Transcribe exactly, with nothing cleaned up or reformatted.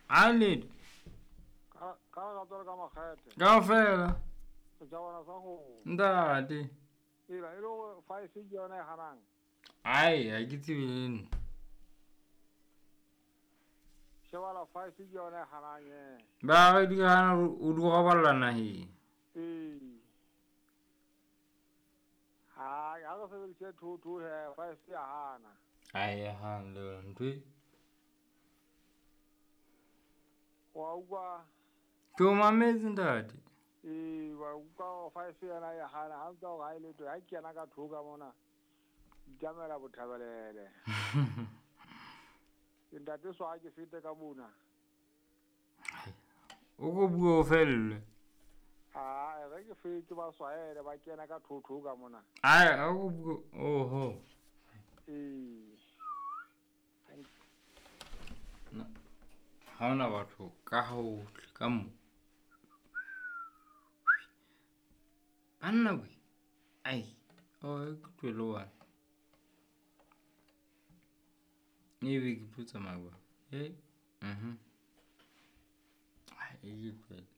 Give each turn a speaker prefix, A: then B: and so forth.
A: A le
B: Ka ka ka ka makgethe.
A: Kaofela.
B: Setjhabana sa go.
A: Ntate.
B: Ela e le gore five ke yona e hanang.
A: Ai, ha ke tsebe le nna.
B: Shebala five ke yona e hanang e.
A: Ba re di hana o di roballa naheng.
B: Ee. Ha ha re sebedise two two he five ya hana.
A: Ai ya hana le ntho e.
B: Wa utlwa.
A: Ke o mametse ntate.
B: Ee, wa utlwa five yena ya hana ha ntse hore ha e letho ha ke kena ka two ka mona. Itamela bothabelele. Ke ntate so ha ke fete ka mona.
A: O ko bua o felle.
B: Ha re ke fete ba swaele ba kena ka two two ka mona.
A: Ai, a ko bua oho.
B: Ee.
A: Ha hona batho ka hohle ka mo. Banna we. Ai, o ke tlohele one. Ebe ke tlo tsamaya jwang? Eh, mhm. Ai, e ke tlohele.